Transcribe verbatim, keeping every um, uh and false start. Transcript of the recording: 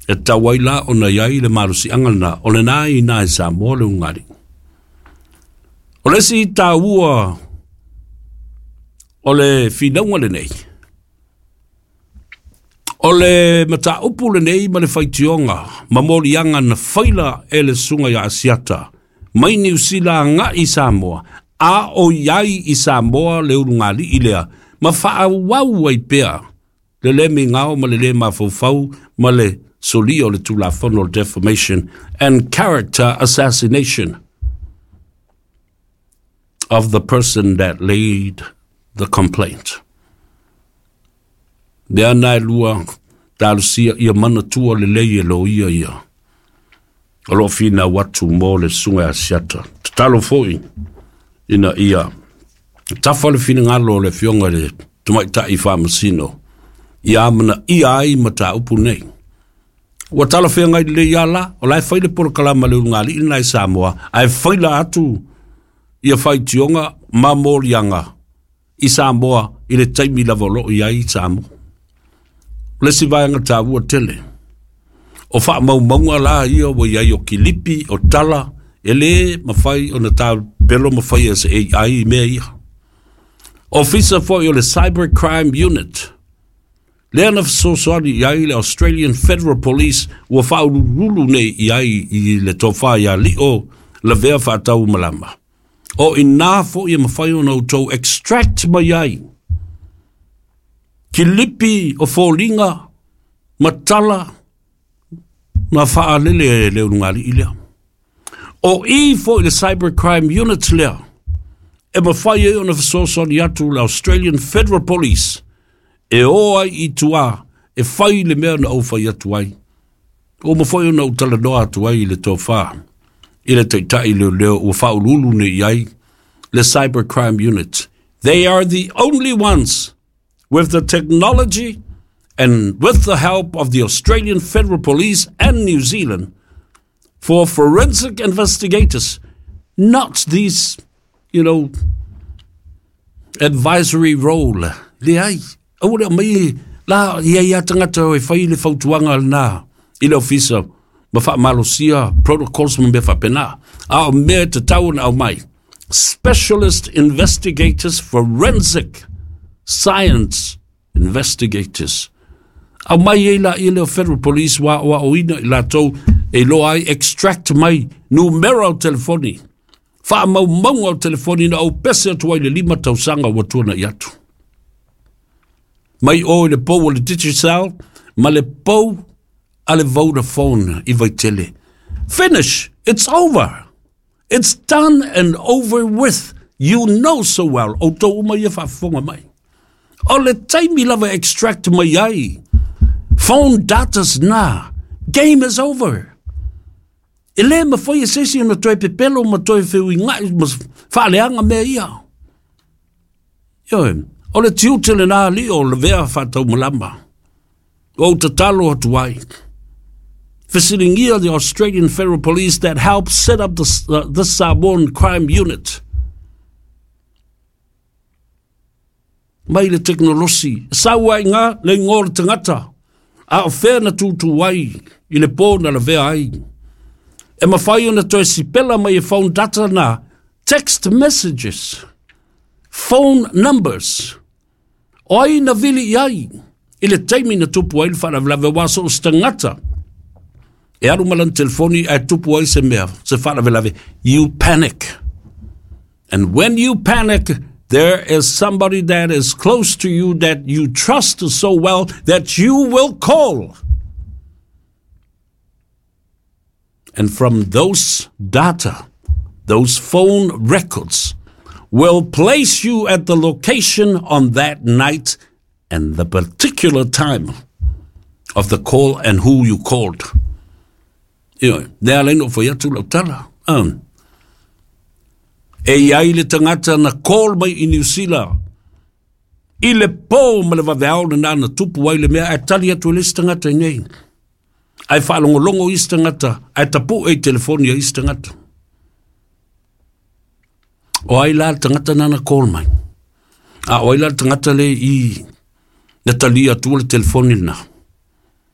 E tau ai la ona iai le malosiaga lena o lena i ina i Samoa le ulugalii. O le isi taua o le finauga lenei, o le mataupu lenei ma le faitioga ma moliaga na faila e le susuga ia Asiata mai Niu Sila agai i Samoa, a o i ai i Samoa le ulugalii lea ma faaauau ai pea le lē migao ma le lē mafaufau ma le solia o le Tulafono o le Defamation and Character Assassination of the person that laid the complaint. Lea na e lua talosia ia manatua lelei e loia ia o loo finau atu mo le susuga Asiata. Tatalo foi ina ia tafa le finagalo o le afioga i le tamaitai faamasino ia amanaia ai mataupu nei. Ua talafeagai lelei lava la, o la e fai le polokalama a le ulugalii lena i Samoa, ae faila atu ia faitioga ma moliaga i Samoa i le taimi lava o loo i ai i Samoa. O le isi vaega taua tele, o faamaumauga la ia ua i ai o kilipi, o tala, e lē mafai ona tapelo ma faia se A I i mea ia. Ofisa foi o le Cyber Crime Unit, lea na fesoasoani i ai le Australian Federal Police ua faaulululu nei i ai i le tofa ia Lio Lavea Faataumalama. O ina foi e mafai ona outou extract mai ai kilipi o foliga ma tala na faalele e le ulugalii lea. O i foi le Cyber Crime Unit lea e mafai ai ona fesoasoani atu le Australian Federal Police e o ai i tua e fai le mea na ou fai atu ai. Ua mafai ona ou talanoa atu ai i le tofa i le taitai leoleo ua faauluulu nei i ai le Cyber Crime Unit. They are the only ones with the technology and with the help of the Australian Federal Police and New Zealand for forensic investigators, not these, you know, advisory role. Leai, aua le aumai la ia ia tagata e fai le fautuaga lena i le ofisa ma faamalosia protocols ma mea faapena. A o mea e tatau ona aumai, specialist investigators, forensic science investigators. Aumai ai laia lea o Federal Police ua aoaoina i latou e iloa ai extract mai numera o telefoni, faamaumauga o telefoni na ou pese atu ai le lima tausaga ua tuana'i atu. Mai o i le pou o le Digicel ma le pou a le Vodafone i Vaitele. Finish! It's over! It's done and over with! You know so well, outou uma ia faafofoga mai. O le taimi lava e extract mai ai phone datas na, game is over. E lē mafai e se isi ona toe pepelo ma toe feuiga'i ma faaleaga mea ia. Ioe, o le tiute lenā alii o Lavea Faataumalama. Ua ou tatalo atu ai. Fesiligia the Australian Federal Police that helped set up the, uh, the Samoan Crime Unit. Mai le tekonolosi, e sau ai ngā le ingoa o le tagata, a o fea na tūtū ai i le pō na lavea ai. E mafai ona toe sipela mai e phone data na text messages, phone numbers. O ai na vili i ai i le taimi na tupu ai le faalavelave aua so o se tagata e alu ma lana telefoni ae tupu ai se mea, se faalavelave, you panic. And when you panic, there is somebody that is close to you that you trust so well that you will call. And from those data, those phone records, will place you at the location on that night and the particular time of the call and who you called. Ioe, lea ala ai ona ou fai atu lau tala. Um, e i ai le tagata na call mai i Niu Sila i le pō ma le vaveao lena na tupu ai le mea ae tali atu e le isi tagata i nei. Ae faalogologo isi tagata, ae tapu'e i telefoni a isi tagata. O ai la le tagata na na call mai? A o ai la le tagata le i na talia atua le telefoni lena?